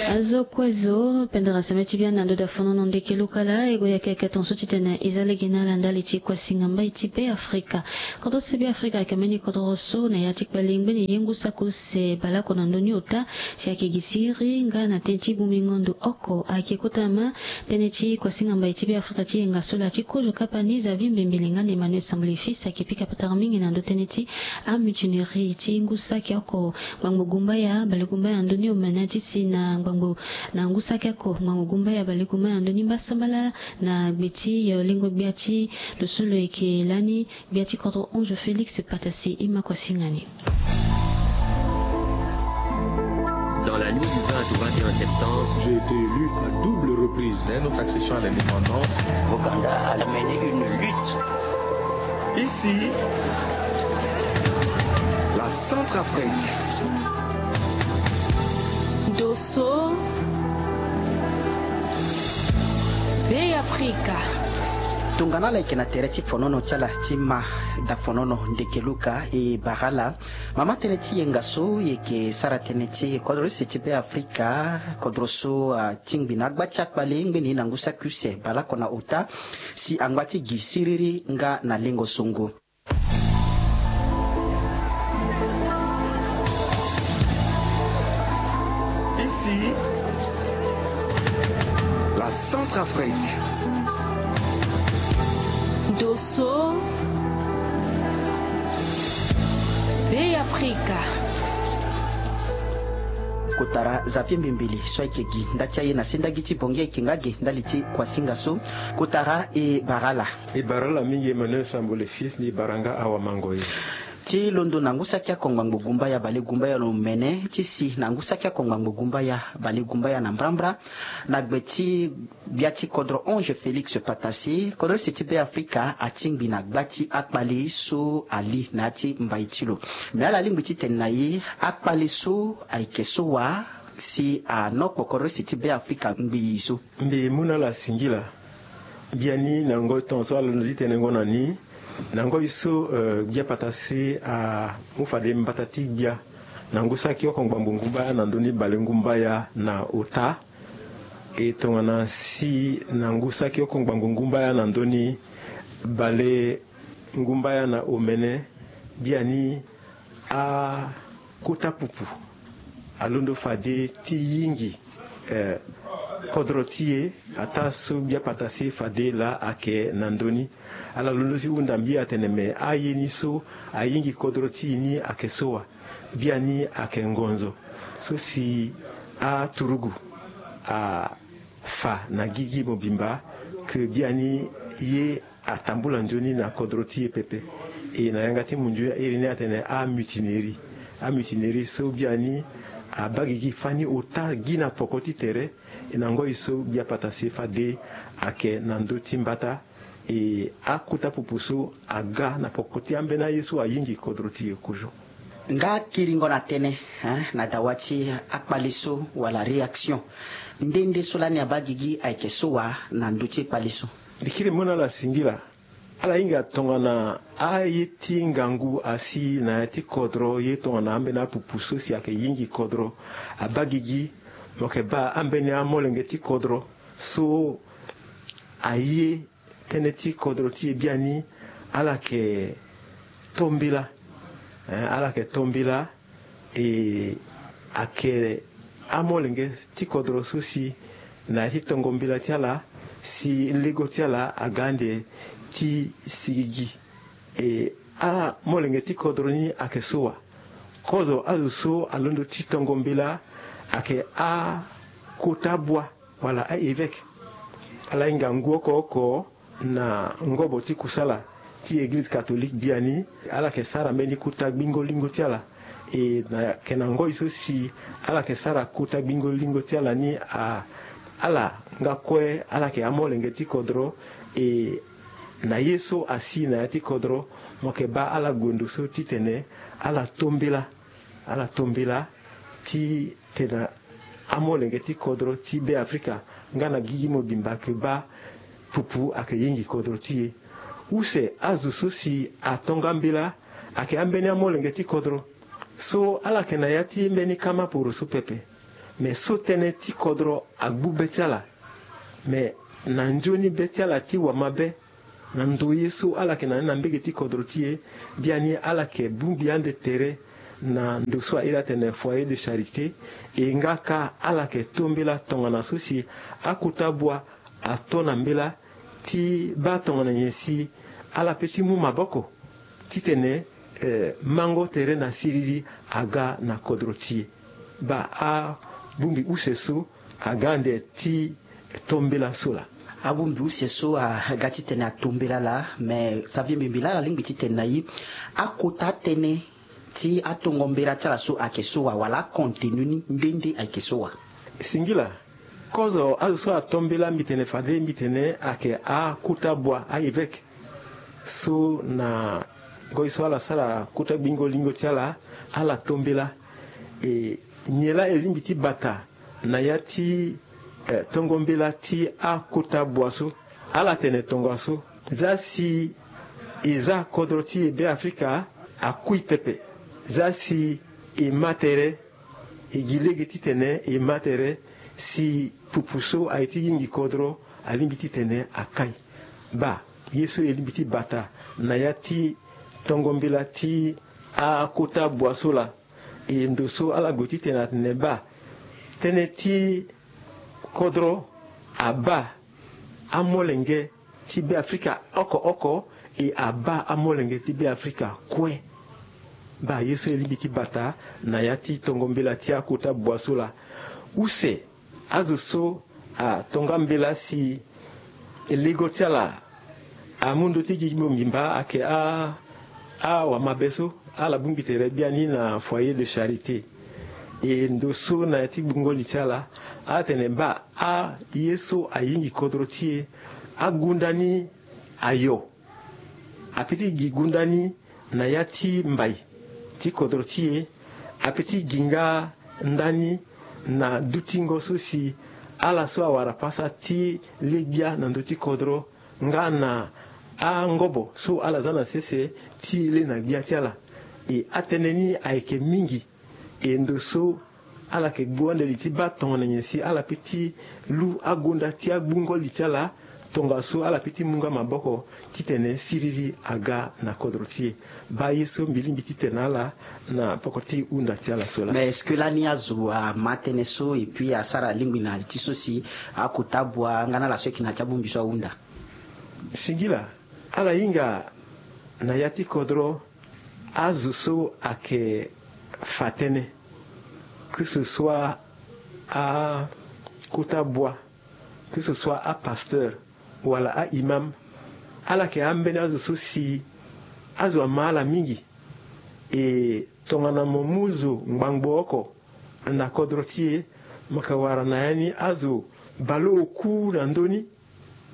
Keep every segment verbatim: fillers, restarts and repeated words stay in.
Azo kue zo pendere seme ti biani na ndo da fonono ndeke luka laa e gue yeke yeke tonso titene e za lege na ala ndali ti kuasinga mbai ti Be Afrika. Kodro ti Be Afrika ayeke mbeni kodro so na ya ti kpali ngbeni ye ngu saki use baleoko na ndö ni ota si ayeke gi siriri nga na tënë ti bongbingo ndo oko ayeke kota ma tënë ti kuasinga mbai ti Be Afrika ti yenga so laa ti kozo kapa ni Xavier Mbembele nga na Emmanuel Sambole Fils ayeke pika patara mingi na ndö tënë ti amutinerie ti ngu saki oko. Ngbangbo gumbaya balegumbaya na ndö ni omene ti si na ngbangbo na ngu saki oko ngbangbo gumbaya balegumbaya na ndö ni mbasambala na gbe ti yo lingo gbia ti lo so lo yeke lani gbia ti kodro onze Félix Patase e ma kuasinga ni. Dans la nuit du vingt au vingt et un septembre, j'ai été élu à double reprise. Dès notre accession à l'indépendance, Ouganda a mené une lutte. Ici, la Centrafrique. Dosso, Be Afrika. Tongana ala yeke na tere ti fonono ti ala ti ma da fonono ndeke luka e bara ala. Mama tënë ti yenga so e yeke sara tënë ti kodro use ti Be Afrika, kodro so atingbi na agba ti akpale ngbeni na ngu saki use baleoko na ota si angba ti gi siriri nga na lengo songo. Ici, la Centrafrique. Dosso, Be Afrika. Kotara Xavier Mbembele so ayeke gi nda ti aye na sendagi ti Bangui ayeke nga ge ndali ti kuasinga so. Kotara e bara ala. E bara ala mingi Emmanuel Sambole Fils, ni bara nga awa mango ye. Ti londo na ngu saki oko ngbangbo gumbaya balegumbaya na omene ti si na ngu saki oko ngbangbo gumbaya balegumbaya na mbrambra na gbe ti gbia ti kodro onze Félix Patase, kodro use ti Be Afrika atingbi na gba ti akpale so ali na ya ti mbai ti lo. Me ala lingbi titene na e akpale so ayeke so wa si anokpo kodro use ti Be Afrika ngbii so. Mbi mu na ala singila. Biani na ngoi tongaso ala londo ti tene ngo na ni na ngoi so, eh, gbia Patase amu fade mbata ti gbia na ngu saki oko ngbangbo ngumbaya na ndö ni bale ngumbaya na ota. E tongana si na ngu saki oko ngbangbo ngumbaya na ndö ni bale ngumbaya na omene, biani akota pupu alondo fade ti yingi, eh, kodro ti e, ataa so gbia Patase fade laa ayeke na ndö ni. Ala londo ti hunda mbi atene me aye ni so ayingi kodro ti e ni ayeke so wa. Biani ayeke ngonzo so si aturugu afa na gigi mobimba ke biani ye atambula nzoni na kodro ti e pepe. E na yanga ti munzu iri ni atene amutinerie. Amutinerie so biani abaa gigi fani ota gi na poko ti tere. E na ngoi so gbia Patase fade ayeke na ndö ti mbata. E akota pupu so aga na poko ti ambeni aye so ayingi kodro ti e kozo. Nga kiringo na tënë, hein, na dawa ti akpale so wala réaction nde nde so lani abaa gigi ayeke so wa na ndö ti kpale so? Mbi kiri mu na ala singila. Ala hinga tongana aye ti ngangu asi na ya ti kodro ye tongana ambeni apupu so si ayeke yingi kodro abaa gigi. Mo yeke baa ambeni amolenge ti kodro so aye tënë ti kodro ti e biani ala yeke to mbela. Eh, ala yeke to mbela. E ayeke amolenge ti kodro so si na ya ti tongo mbela ti ala si lego ti ala aga ande ti sigigi. E amolenge ti kodro ni ayeke so wa? Kozo azo so alondo ti tongo mbela ayeke akota bua wala a-évêque. Ala hinga ngu oko oko na ngobo ti kusala ti eglize catholique biani. Ala yeke sara mbeni kota gbingo lingo ti ala. E na yeke na ngoi so si ala yeke sara kota gbingo lingo ti ala ni, a ala nga kue ala yeke amolenge ti kodro. E na ye so asi na ya ti kodro, mo yeke baa ala gue ndo so titene ala to mbela. Ala to mbela titene amolenge ti kodro ti Be Afrika nga na gigi mobimba ayeke baa pupu ayeke yingi kodro ti e. Use azo so si ato nga mbela ayeke ambeni amolenge ti kodro so ala yeke na ya ti mbeni kama poro so pepe. Me so tënë ti kodro agbu be ti ala. Me na nzoni be ti ala ti wamabe, na ndo ye so ala yeke na ni na mbege ti kodro ti e, biani ala yeke bongbi ande tere na ndo so airi atene foyer de charité. E nga kâ ala yeke to mbela tongana so si akota bua ato na mbela ti baa tongana nyen si ala pe ti mu maboko titene, eh, mango tere na siriri aga na kodro ti e. Baa abongbi use so aga ande ti to mbela so laa. Abongbi use so aga titene ato mbela laa, me Xavier Mbembe, laa ala lingbi titene na e, akota tënë ti atongo mbela ti ala so ayeke so wa, wala acontenu ni nde nde ayeke so wa? Singila. Kozo azo so ato mbela mbi tene fade mbi tene ayeke akota bua, a-évêque. So na ngoi so ala sara kota gbingo lingo ti ala, ala to mbela. E nyen laa e lingbi ti bata na ya ti, eh, tongo mbela ti akota bua so? Ala tene tongaso, za si e za kodro ti e Beafrika akui pepe, za si e ma tere, e gi lege titene e ma tere si pupu so aye ti yingi kodro alingbi titene akai. Baa ye so e lingbi ti bata na ya ti tongo mbela ti akota bua so laa. E ndo so ala gue titene atene baa tënë ti kodro abaa amolenge ti Beafrika oko oko, e abaa amolenge ti Beafrika kue. Baa ye so e lingbi ti bata na ya ti tongo mbela ti akota bua so laa. Use azo so atonga mbela si lego ti ala amu ndö ti gi bongbi mba ayeke a, awamabe so ala bongbi tere biani na foyer de charité. E ndo so na ya ti gbungo li ti ala, ala tene baa aye so ayingi kodro ti e, agunda ni ayo. Ape ti gi gunda ni na ya ti mbai ti kodro ti e, ape ti gi nga ndani na dutingo so si ala so awara pasa ti le gbia na ndö ti kodro nga na angobo so ala za na sese ti le na gbia ti ala. E atënë ni ayeke mingi. E ndo so ala yeke gbu ande li ti baa tongana nyen si ala pe ti lu agonda ti agbungo li ti ala, tongaso ala pe ti mu nga maboko titene siriri aga na kodro ti e. Baa ye so mbi lingbi titene na ala na poko ti hunda ti ala so laa. Mais est-ce que lani azo ama tënë so et puis asara alingbi na li ti so si akota bua nga na ala so ayeke na ya ti abongbi so ahunda? Singila, ala hinga na ya ti kodro azo so ayeke fa tënë, que ce soit akota bua, que ce soit apasteur wala a-imam, ala yeke ambeni azo so si azo ama ala mingi. E tongana mo mu zo ngbangbo oko na kodro ti e, mo yeke wara na ya ni azo baleoku na ndö ni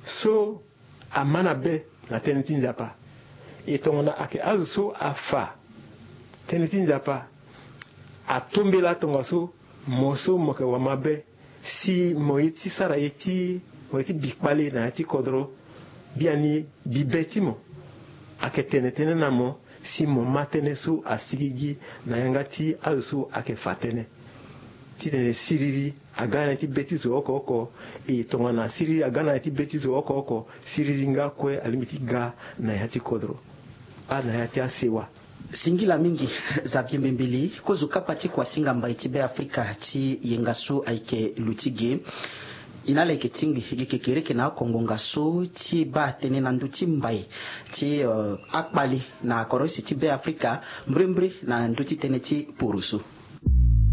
so ama na be na tënë ti Nzapa. E tongana ayeke azo so afa tënë ti Nzapa, ato mbela tongaso mo so mo yeke wamabe, si mo ye ti sara ye ti, mo ye ti bi kpale na ya ti kodro, biani bibe ti mo ayeke tene tënë na mo si mo ma tënë so asigigi na yanga ti azo so ayeke fa tënë. Titene siriri aga na ya ti be ti zo oko oko. E tongana siriri aga na ya ti be ti zo oko oko, siriri nga kue alingbi ti ga na ya ti kodro, baa na ya ti asewa. Singila mingi Xavier Mbembeli, kozo kapa ti kuasinga mbai ti Beafrika ti yenga so ayeke lo ti ge. E na ala yeke tingbi gi kekereke na akongo nga so ti baa tënë na ndö ti mbai ti, eh, akpali na kodro use ti Beafrika, mbrimbri na ndö ti tënë ti poroso.